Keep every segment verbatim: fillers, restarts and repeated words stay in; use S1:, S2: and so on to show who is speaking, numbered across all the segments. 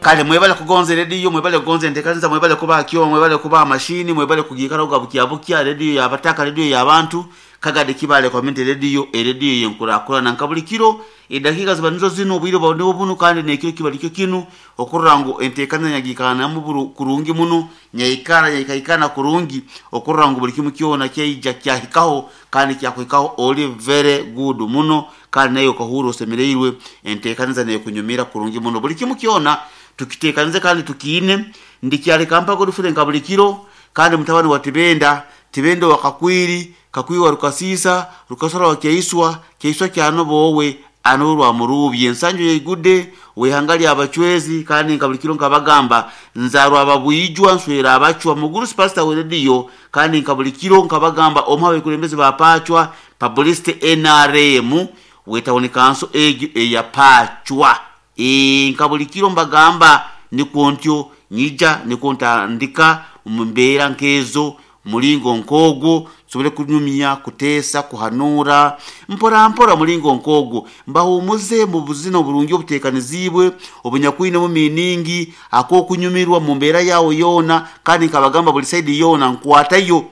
S1: Kale mwebale kugonza rediyo, mwebale kugonza enteekaniza, mwebale kuba kyo, mwebale kuba mashini, mwebale kugikala bukya bukya rediyo yabataka, rediyo y'abantu Kagadi Kibale Community Radio, erediyo yenkurakurana nka buli kiro edakiika ziba nizo zino, obwire bwa nibo bunu, kandi nekiro kiba likyo kinu okurora ngu enteekaniza nyagikanamu kurungi muno, nyaikara nyaikaikana kurungi okurora ngu buli kimu kyona kyaija kyahikaho kandi kyakuhikaho oli very good muno, kandi nayo okahura osemereirwe enteekaniza nekunyumira kurungi muno. Buli kimu kyona tukiteekanize kandi tukiine. Ndikyaleka mpago rufure nka buli kiro, kandi mutabani wa Tibenda, Tibenda wa Kakwiri, Kakwiri wa Rukasisa, Rukasora wa Kyaiswa, Kyaiswa kyanobowe anorwa murubye ensanju yeigude wehanga lya abachwezi, kandi nka buli kiro nkabagamba nzarwa ababwijwa nswera abachwa mugurusi pastor we radio, kandi nka buli kiro nkabagamba omwe abakulembeze bapachwa publicity N R M wetawuni kanso egyo eyapachwa. E nka buli kiro mbagamba nikwo ntyo nyija nikwo ntandika mu mbeera nkezo mulingo nkogo nsobole kunyumya kuteesa kuhanura mpora mpora mulingo nkogo mbahumuze mu buzina oburungi obuteekanizibwe obunyakwine mu miningi akokunyumirwa mu mbeera yawo yona, kandi nkabagamba buli side yona nkwatayo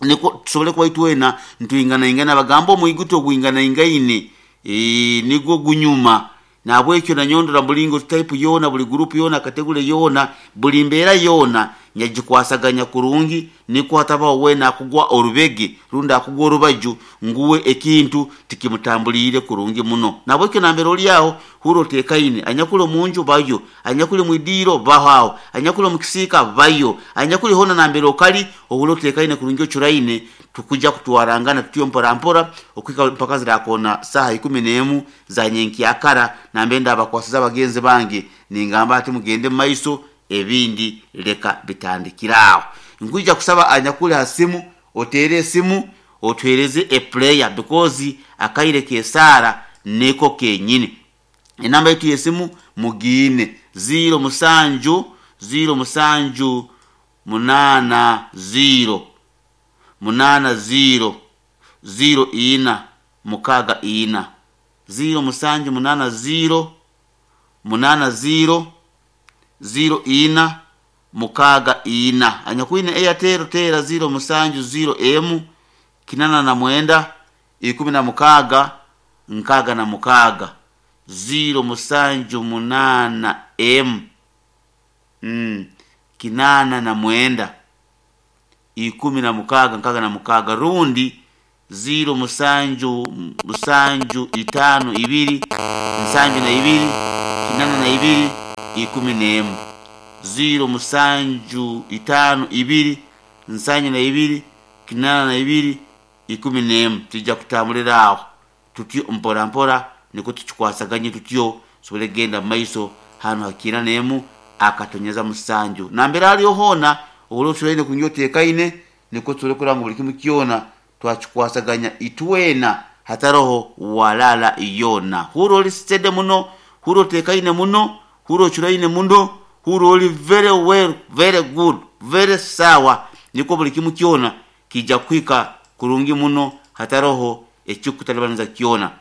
S1: niko tusobole kuba itwena ntwingana ingana bagamba omwiguto ogwingana ingaine e, nigwo gunyuma nabwekyo nanyondora mulingo type yona buli group yona kategore yona buli mbeera yona nyagikwasaganya kurungi niko hatabaho wena akugwa orubege runda akugwa orubaju nguwe ekintu tikimutambulire kurungi muno. Nabwekyo nambere oli aho huro tekaine anyakule munju bayo, anyakule mwidiro baho, anyakule mukisika bayo, anyakule hona nambere okali ohulo tekaine kurungi ochuraine tukuja kutwarangana tutyo mpora mpora okwika mpaka zirakona saha ikumi n'emu za nyenkyakara nambenda abakwasiza abagenzi bange ningamba ati mugende maiso ebindi leka bitandikiraho. Nkuja kusaba anyakule hasimu otere esimu otwereze a player because akaire kesara neko kenyini. Enamba yetu yesimu mugine zero musanju zero musanju munana zero munana zero zero ina mukaga ina zero musanju munana zero munana zero zero ina mukaga ina. Anyakwine Airtel tera zero musanju zero emu kinana na mwenda ikumi na mukaga nkaga na mukaga zero musanju munana m mm, kinana na mwenda ikumi na mukaga nkaga na mukaga rundi zero musanju musanju itano ibiri nsanju na ibiri kinana na ibiri ikumi n'emu zero musanju itano ibiri nsanju na ibiri kinana na ibiri ikumi n'emu. Tujja kutambulira aho tutyo mpora mpora niko tukikwasaganye tutyo sobole genda maiso hano hakina n'emu akatonyeza musanju nambere aliyo hona obulo tulaine kunyoteekaine niko tule kuranga buli kimu kyona twakikwasaganya itwena hataroho walala yona. Huro oli steady muno, huro tekaine muno, huro churaine muno, huro oli very well, very good, very sawa niko buli kimu kyona kija kwika kurungi muno hataroho ekikutalibaniza kyona.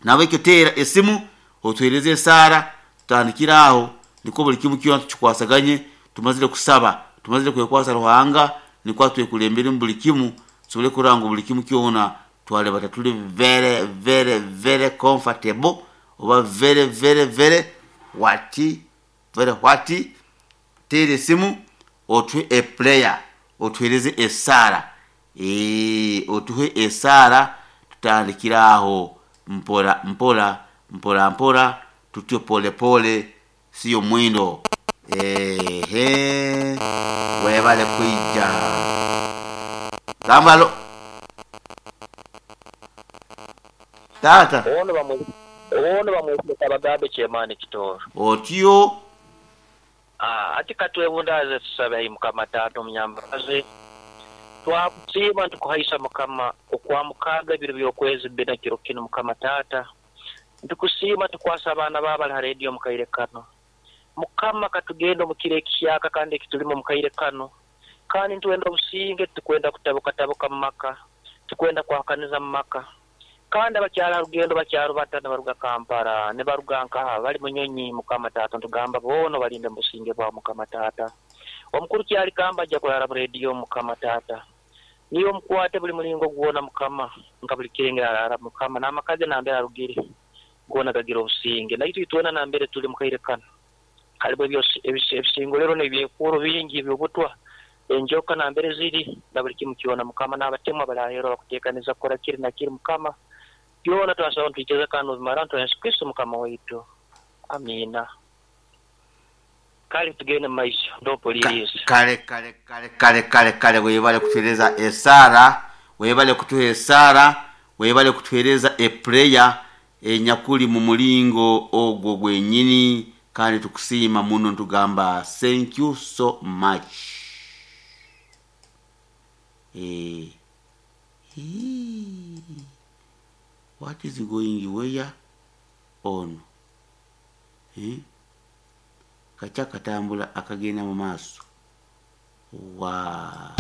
S1: Nawe kyotera esimu otwereze sara tutandikiraho niko buli kimu kyona tukikwasaganye tumazire kusaba tumazire kwekwasa Ruhanga niko atwekulembere buli kimu sobole kuranga buli kimu kyona twale batatuli very very very comfortable oba very very very wati very wati. Tere simu otwe a player otwereze esara eh otuhe esara tutandikiraho mpora mpora mpora mpora tutyo pole pole sio mwindo. Ehe webale kuija gambalo tata
S2: ono bamwe ono bamwe kabagabe chemani kitoro
S1: otyo
S2: ah ati katwebundaze tusabe Mukama tata omunyambaze twakusiima ntukuhaisa Mukama okwamukaga ebiro by'okwezi bina kiro kino Mukama tata ntukusiima tukwasa abaana babali ha radio mukaire kano Mukama katugenda omukiro ekihyaka kandi ekitulimo mukaire kano kandi ntuwenda obusinge tukwenda kutabuka tabuka mu maka tukwenda kwahakaniza mu maka Kandi abakyala rugendo bakyarubata nibaruga Kampala, nibaruga nkaha bali munyonyi Mukama taata, ntugamba boona balinde mu businge bwa Mukama taata. Omukuru kyali kamba ajja kurara mu rediyo Mukama taata. Niyo omukwate buli mulingo gwona Mukama, nka buli kirenge arara Mukama, n'amaka ge nambere arugire goona gagira obusinge. Naitwe itwena nambere tuli mukaire kano halimu ebisingolero n'ebyekuuro bingi eby'obutwa, enjoka nambere ziri na buli kimu kyona Mukama, n'abatemu abaraheerwa bakuteekaniza kukora kiri na kiri Mukama. Byona twasaba nitwikiriza kandi nobimara nitwa Yesu Kristo Mukama waitu. Amiina. Kale tugende mu maiso ndompuliriza.
S1: Kale kale kale kale kale kale, webale kutuhereza esaara, webale kutuha esaara, webale kutuhereza epureya enyakuli mu mulingo ogwo gwenyini, kandi tukusiima muno ntugamba thank you so much. Eh, hii, what is going where on? Eh? Kacha katambula akagenda mu maaso. Wa